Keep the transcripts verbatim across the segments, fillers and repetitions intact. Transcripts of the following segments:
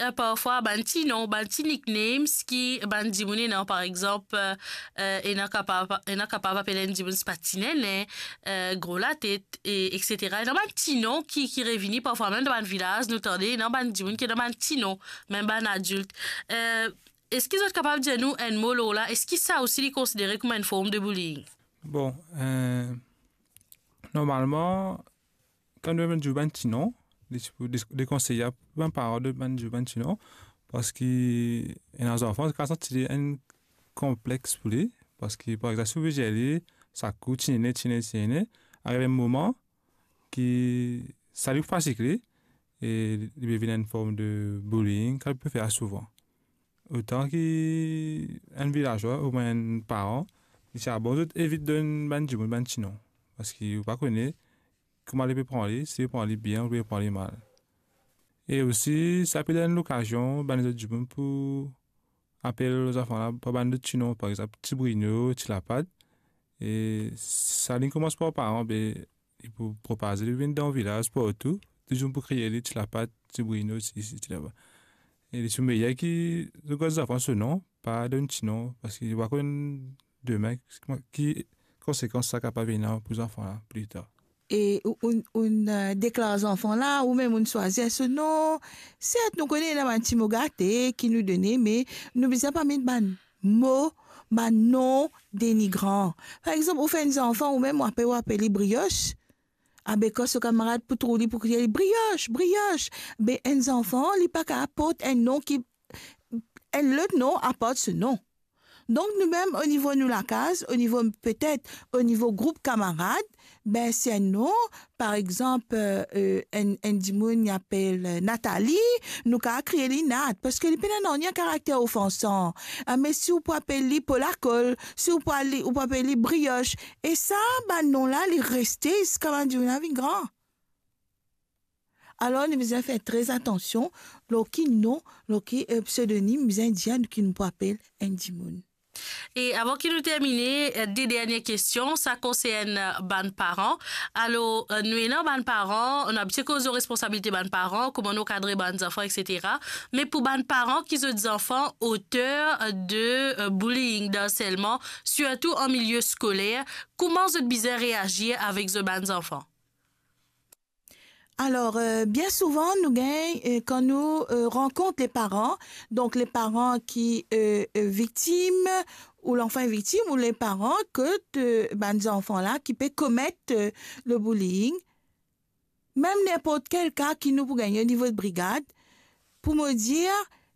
Eh, parfwa, bann ti non, bann ti nicknames ki bann dimoun ena, par exanp, eh, eh, ena kapav, ena kapav apel enn dimoun sipa ti nene, eh, gro latet, e, et cetera. Ena bann ti non ki, ki revini parfwa, mem dan bann vilaz, nou tande, ena bann dimoun ki ena bann ti non, mem bann adilt. Eh, eski zot kapav dir nou enn mo lor la? Eski sa osi li konsidere kouma enn form de bullying? Bon, eh, normalman, kan nou dir bann ti non, li ti pou de-, dekonseye pou bann paran de bann dir bann ti non, parski ena zanfan ki kapav santi li enn konplex pou li, parski, par exanp, si ou pe dir li, sa kou, ti nene, ti nene, ti nene, ariv enn moman ki sa li fatig li, e li pe vinn enn form de bullying, kan li pe fer souvan. Otan ki enn vilazwa oubien enn paran, li ti a bon zot evit donn bann dimoun bann ti non, parski ou pa kone kouma li pe pran li, si li pran li bien oubien li pran li mal. E osi, sa pe donn lokazion bann lezot dimoun pou apel zanfan la par bann lot ti non, par exanp, ti Brino, ti Lapat. E sa li koumans par paran, be, li pou propaze, li vinn dan vilaz partou, touzour pou kriye li, ti Lapat, ti Brino, ti isi, ti laba. E li ti meyer ki zot gard zanfan so non, pa donn ti non, parski li pa konn demin ki konsekans sa kapav ena pou zanfan la pli tar. E ou, ou, ou, eh, deklar zanfan la, oubien ou swazir so non. Sert, nou kone ena bann ti mo gate ki nou done, me nou bizin pa met bann mo, bann non denigran. Par exanp, ou fer enn zanfan, ou mem ou apel, ou apel li Brioche. Abe kan so kamarad pou trouv li, pou kriye li, "Brioche, Brioche!" Be enn zanfan, li pa kapav port enn non ki, enn lot non apart so non. Donk nou mem o nivo nou lakaz, o nivo petet, o nivo group kamarad, be si enn non, par exanp, eh, eh, enn, enn dimoun li apel, eh, Nathalie, nou kapav kriye li Nat, parski li pena nanye karakter ofansan. Ah, me si ou pou apel li Polakol, si ou pou al-, ou pou apel li Brioche, e sa, bann non la, li reste ziska bann dimoun la vinn gran. Alor, nou bizin fer tre atansion lor ki non, lor ki, eh, psedonim bizin dir nou ki nou pou apel enn dimoun. E avan ki nou termine, eh, de dernie kestion, sa konsern, eh, bann paran. Alor, eh, nou ena bann paran, nou abitie koz lor responsabilite bann paran, kouma nou kadre bann zanfan, et cetera. Me pou bann paran ki zot zanfan oter, eh, de, eh, bullying, d'harcèlement, sirtou an milie skoler, kouma zot bizin reazir avek zot bann zanfan? Alor, eh, bien souvan, nou gagn, eh, kan nou, eh, rankont le paran, donk le paran ki, eh, eh, viktim, ou lanfan viktim, ou le paran ke, eh, bann zanfan la ki pe komet, eh, le bullying, mem ninport kel ka ki nou pou gagne o nivo de brigad, pou mo dir,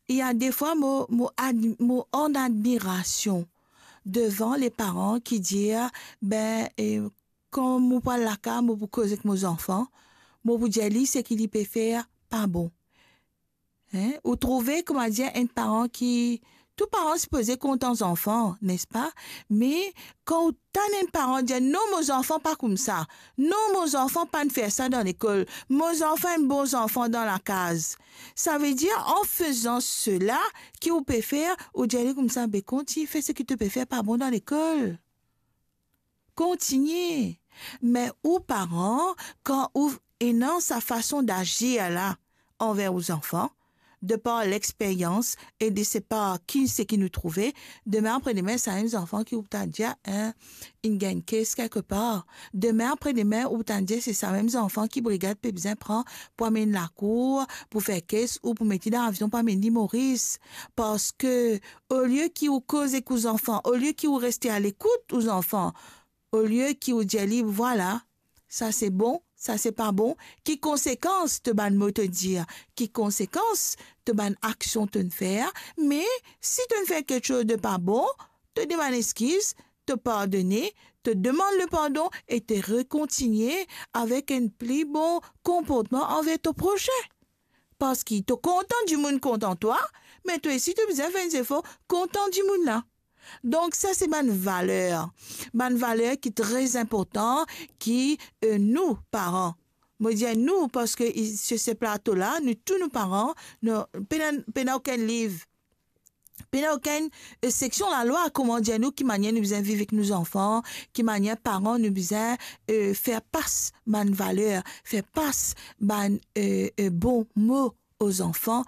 i a defwa mo, mo ad-, mo an admirasion devan le paran ki dir, be, eh, kan mo pou al lakaz, mo pou koz ek mo zanfan, mo pou dir li seki li pe fer pa bon. Hein? Ou trouve, kouma dir, enn paran ki, tou paran sipoze kontan zanfan, nespa? Me kan ou tann enn paran dir, "Non, mo zanfan pa koumsa. Non, mo zanfan pa'nn fer sa dan lekol. Mo zanfan enn bon zanfan dan lakaz." Savedir, an fezan sela ki ou pe fer, ou dir li koumsa, "Be, kontign fer seki to pe fer pa bon dan lekol." Kontigne. Me ou paran, kan ou ena sa fason dazir la anver ou zanfan, de par lexperyans e de se par ki, seki nou trouve, demin apre demin, sa mem zanfan ki ou pou tann dir, hein, inn gagn kes kelkepar. Demin apre demin, ou pou tann dir se sa mem zanfan ki brigad pe bizin pran pou amenn lakour, pou fer kes ou pou met li dan avion pou amenn li Moris. Parski olie ki ou koz ek ou zanfan, olie ki ou reste alekout ou zanfan, olie ki ou dir li, "Vwala, sa se bon, sa se pa bon," ki konsekans to bann mo to dir, ki konsekans to bann aksion to'nn fer, me si to'nn fer kiksoz de pa bon, to demann eskiz, to pardone, to demann lepardon e to rekontigne avek enn pli bon konportman anver to prosin. Parski to kontan dimoun kontan twa, me twa osi to bizin fer enn zefor kontan dimoun la. Donk, sa se bann valer. Bann valer ki tre inportan, ki, eh, nou, paran, mo dir nou, parski i-, sur se plato la, nou tou nou paran, nou, pena, pena okenn liv, pena okenn, eh, seksion lalwa, kouma dir nou, ki manier nou bizin viv ek nou zanfan, ki manier paran nou bizin, eh, fer pas bann valer, fer pas bann, eh, eh, bon mo o zanfan,